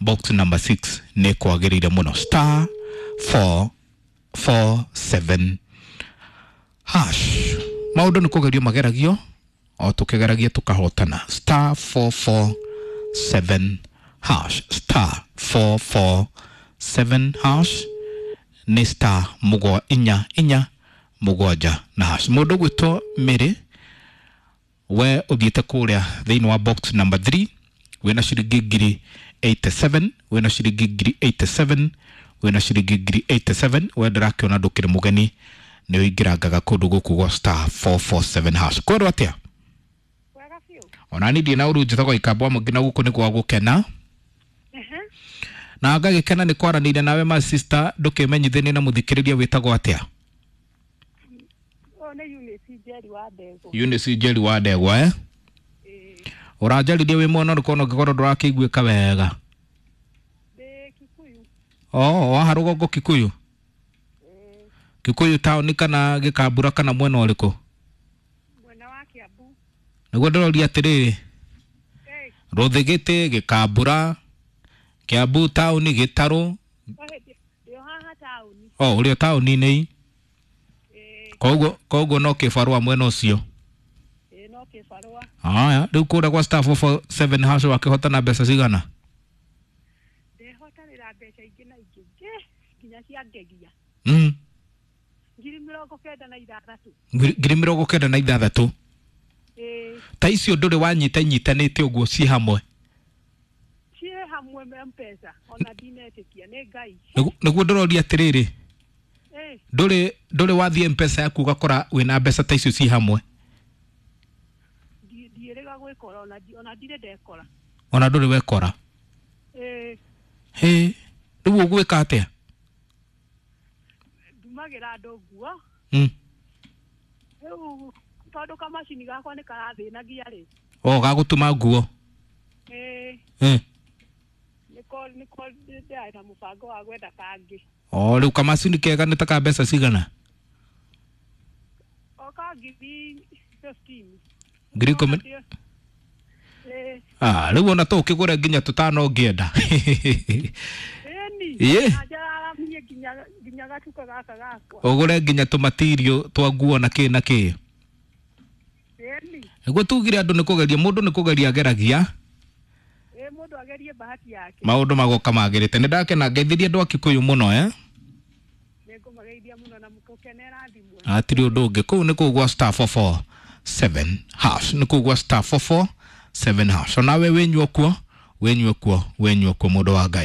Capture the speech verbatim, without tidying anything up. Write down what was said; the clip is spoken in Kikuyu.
Box number six nĩ kwagĩrĩire mũno. Star four four seven hash. Maũndũ nĩ kũgerio mageragio o tũkĩgeragia tũkahotana. Star four four seven hash. Star four four seven hash nĩ star mũgwa inya inya mũgwanja na hash. Mũndũ ũgwĩtwo Mary, we ũthiĩte kũrĩa thĩinĩ wa box number three wĩna ciringi ngiri eighty-seven, wĩna ciringi ngiri eighty-seven, wĩna ciringi ngiri eighty-seven. We ndĩrakĩona ndũkĩrĩ mũgeni, nĩ ũingĩrangaga kũndũ gũkũ gwa star four four seven hash. Kwĩrwo atĩa? Wega biũ. Ona niĩ ndirĩ na ũru, njĩtagwo Ikamba wa Mũingĩ na gũkũ nĩ gwa gũkena. Ehe. Na ngagĩkena nĩ kwaranĩria nawe my sister. Ndũkĩmenyithanie na mũthikĩrĩria wĩtagwo atĩa? Ũyũ nĩ Eunice Njeri wa Ndegwa. Eunice Njeri wa Ndegwa, eh? Ĩĩ. Ũranjaririe wĩ mwena ũrĩkũ ona ũngĩkorwo ndũrakĩiguĩka wega? Ndĩ Kikuyu. Oh, waha rũgongo Kikuyu? Ĩĩ. Kikuyu taũni kana Gĩkambura kana mwena ũrĩkũ? Mwena wa Kiambu. Nĩguo ndĩroria atĩrĩrĩ, Ĩĩ. Rũthĩgĩtĩ, Gĩkambura, Kiambu taũni, Gĩtarũ? Ndĩ o haha taũni. Oh, ũrĩ o taũni-inĩ. Ĩĩ. Koguo koguo no kĩbarũa mwena ũcio? Ĩĩ, no kĩbarũa. Haya, rĩu kũrĩa gwa star four four seven hash wakĩhotana mbeca cigana? Ndehotanĩra mbeca ingĩ na ingĩ ingĩ nginya cia ngegia. Mm. Ngiri mĩrongo kenda na ithathatũ. Ngiri ngiri mĩrongo kenda na ithathatũ. Ĩĩ. Ta icio ndũrĩ wanyita inyitanĩte ũguo ciĩ hamwe? Ciĩ hamwe M-Pesa ona ndinetĩkia nĩ Ngai. Nĩguo nĩguo ndĩroria atĩrĩrĩ, Ĩĩ. ndũrĩ ndũrĩ wathiĩ M-Pesa yaku ũgakora wĩna mbeca ta icio ciĩ hamwe? Ndi- Ndiĩrĩga gwĩkora ona ndi- ona ndirĩ ndekora. Ona ndũrĩ wekora? Ĩĩ. Hĩ, rĩu ũgwĩka atĩa? Ndumagĩra andũ nguo. Mm. Rĩu tondũ kamacini gakwa nĩ karathĩnagia rĩ. O gagũtuma nguo? Ĩĩ. Eh. Nĩko nĩko ndĩrarĩ na mũbango wa gwetha kangĩ. O rĩu kamacini kega nĩ ta ka mbeca cigana? O ka ngiri fifteen. Ngiri ikũmi? Ĩĩ. Ah, rĩu ona to ũkĩgũre nginya tũtano ũngĩenda. Ĩni. Ĩĩ. Na njararamie nginya nginya gatuka gaka gakwa. Ũgũre nginya tũmatirio twa nguo na kĩ na kĩ. Ĩni. Nĩguo tugire andũ nĩ kũgeria, mũndũ nĩ kũgeria ageragia. Ĩĩ, mũndũ agerie bahati yake. Maũndũ magoka magĩrĩte. Nĩ ndakena, ngeithirie andũ a Kikuyu mũno, eh? Nĩngũmageithia mũno na mũkenera thimũ. Hatirĩ ũndũ ũngĩ. Kũu nĩ kũu gwa star four four seven hash. Nĩ kũu gwa star four four seven hash. Onawe wĩnyue kuo, wĩnyue kuo, wĩnyue kuo mũndũ wa Ngai.